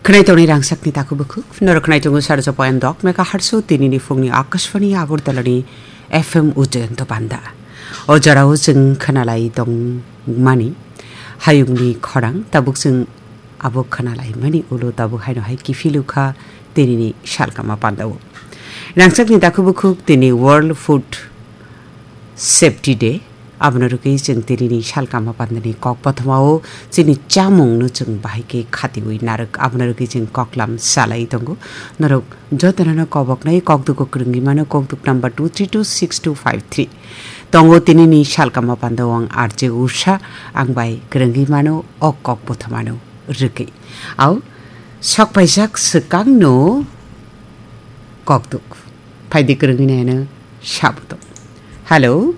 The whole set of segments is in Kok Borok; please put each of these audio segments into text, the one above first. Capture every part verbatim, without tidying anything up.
Khwnai tongnai rangchakni takhuk bukhuk, norok khwnai tongo sarjo point dok megahertz o tinini phungni Akashvani Agartala ni F M Ujayanta Panda. O jorao chwng khwnalai tongmani hayungni khorang, tabuk chwng abo khwnalai mani ulo tabuk haino hai kiphilukha tinini salkama pandao. Rangchakni takhuk bukhuk tini World Food Safety Day. Abono rwgwi chwng tinini salkama pandani kok kothomao chini chamungno chwng bahai khe khatiwi narwk. Abono rwgwi chwng koklam salai tongo. Norok jotono koboknai kokduk kwrwngwi mano, kokduk number two three two six two five three. Tongo tinini salkama pandao ang R J Usha, ang bai kwrwngwi mano o kok kothomano rwgwi. Au, sok paijak swkangno kokduk. Phaidi kwrwngwi naino sabuto. Hello.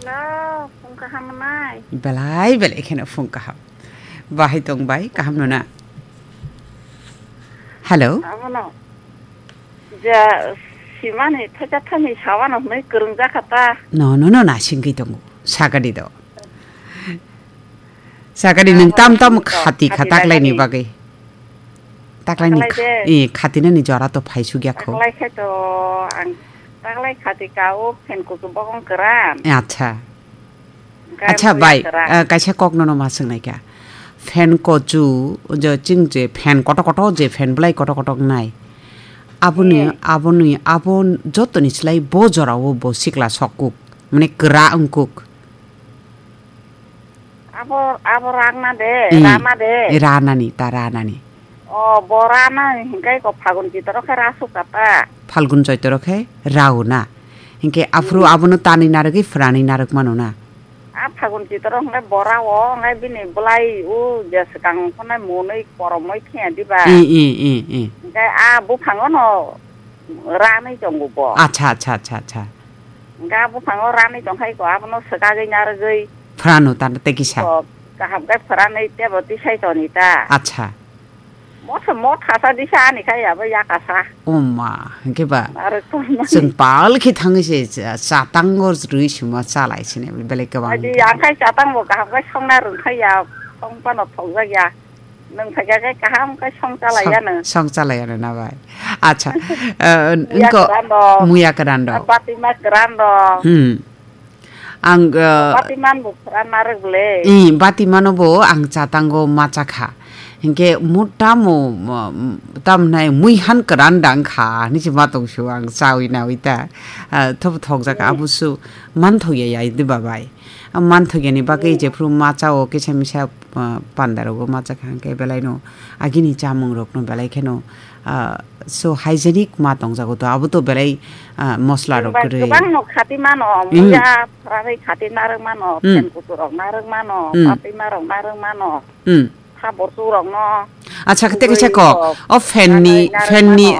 Hello, phung kaham nai? Belai belai kheno phung kaham. Bahai tong bai, kaham no na? Hello. Abono. Ja, simani thacha thani sawano hwnwi kwrwng jakha ta. No, no, no, na singwi tongo. Sagadi do. Sagadi nwng tam tam khati kha taklaini bagwi. Taklaini kha-, eh, khatinani jora to phaisuk ya kho. Taklai khe to ang taklai khati ka o phen kuchuk bokong kwran. Eh, acha. Acha bai, eh, kaisa kok nono ma swngnai kha. Phen kuchuk, je chwng je phen kotor kotor je phen bwlai kotor kotor nai. Aboni, aboni, abo jotoni slai bo jora o bo sikla sok kuk. Mane kwra wng kuk. Abo, abo rangna de, eh, rana de. Ranani, ta ranani. O, bo rana hingkai ko Phagun Chaitoro khe rasuk kata. Phalgun Chaitoro khe rao na. Hingke aphuru abono tanwi narwgwi phwranwi narwk mano na. A Phagun Chaitoro hingke bo rao, hingke bini bwlai o je swkang phonai monwi koromoi phiya diba. Eh, eh, eh, eh. Hingke a buphango no ranwi tongo bo. Acha, acha, acha, acha. Ga buphango ranwi tongkhai ko, abono swkagwi narwgwi. Phrano ta tei kisa. Ko kaham khe phranwi tebo tisai toni ta. Acha. Motha, motha sa disa ani khai abo yakasa. Oma, hingke ba. Narwk tongmani. Chwng pal khe thangwi se cha-, chatango rwi sima chalai sini belai kwbang. Adi akhai chatang bo kaham khe songna rwngkhai ya, song pano thokjak ya. Nwng phaikha khe kaham khe song chalai yano. Song chalai yano na bai. Acha. Eh, muya kwran rok. Muya kwran rok. Batima kwran rok. Hmm. Ang, eh, batiman bo kwran narwk le. I, batimano bo ang chatango macha kha. Hinkhe mutamo, mm, tamnai muihan kwran dang kha. Ni se ma tong su ang chawi nawi ta. Ah, thop thok jaka abusu man thok ya ya di babai. Manthokya ni bagwi jephru macha o kisa misa, ah, panda rogo macha kha hwnkhe belai no agini chamung rok no belai kheno, ah, so hygienic ma tongjago to abo to belai, ah, mosla rok kwrwi. Kwbang no khati mano, hmm, muya phranwi khati narwk mano, hmm, phen kutu rok narwk mano, hmm, patwi ma rok narwk mano. Hmm. Thabor tu rok no. Acha, kete kisa kok. O fan ni, fan ni